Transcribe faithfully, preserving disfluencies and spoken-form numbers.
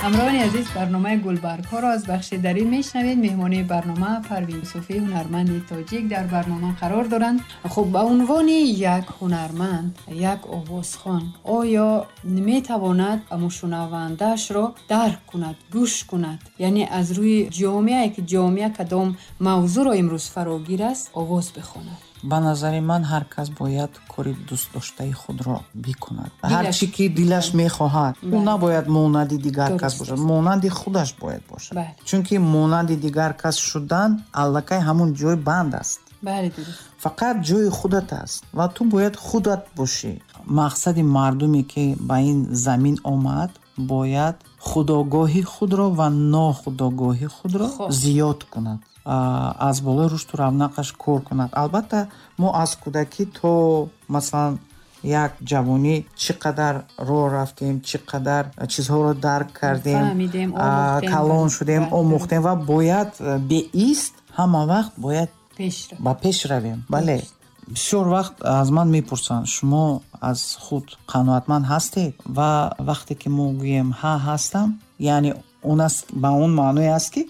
Ҳамроҳони азиз, барномаи Гулбаргҳоро аз бахши Дарӣ мешнавед. Меҳмони барнома Парвин Юсуфӣ, ҳунарманди тоҷик, дар барнома қарор доранд. Хуб, ба унвони як ҳунарманд, як овозхон, оё метавонад мушунавандаашро дарк кунад, гӯш кунад, яъне аз рӯи ҷомеае ки ҷомеа кадом мавзӯъро имрӯз фарогир аст, овоз бихонад? Ба назари ман, ҳар кас бояд кори дӯстдоштаи худро бикунад, ҳар чӣ ки дилаш мехоҳад. Ӯ набояд монанди дигар кас бошад, монанди худаш бояд бошад, чунки монанди дигар кас шудан аллакай ҳамун ҷой банд аст. Фақат ҷои худат аст ва ту бояд худат бошӣ. Мақсади мардуме ки ба ин замин омад, бояд худогоҳи худро ва нохудогоҳи худро зиёд кунад, аз болои рушду равнақаш кор кунад. Албатта, мо аз кӯдакӣ то, масалан, як ҷавонӣ чӣ қадар роҳ рафтем, чӣ қадар чизҳоро дарк кардем, калон шудем, омӯхтем ва бояд беист, ҳама вақт бояд ба пеш равем. Бале, бисёр вақт аз ман мепурсанд: «Шумо аз худ қаноатманд ҳастед?» Ва вақте ки мо гӯем: «Ҳа, ҳастам», яъне он аст, ба он маъное аст, ки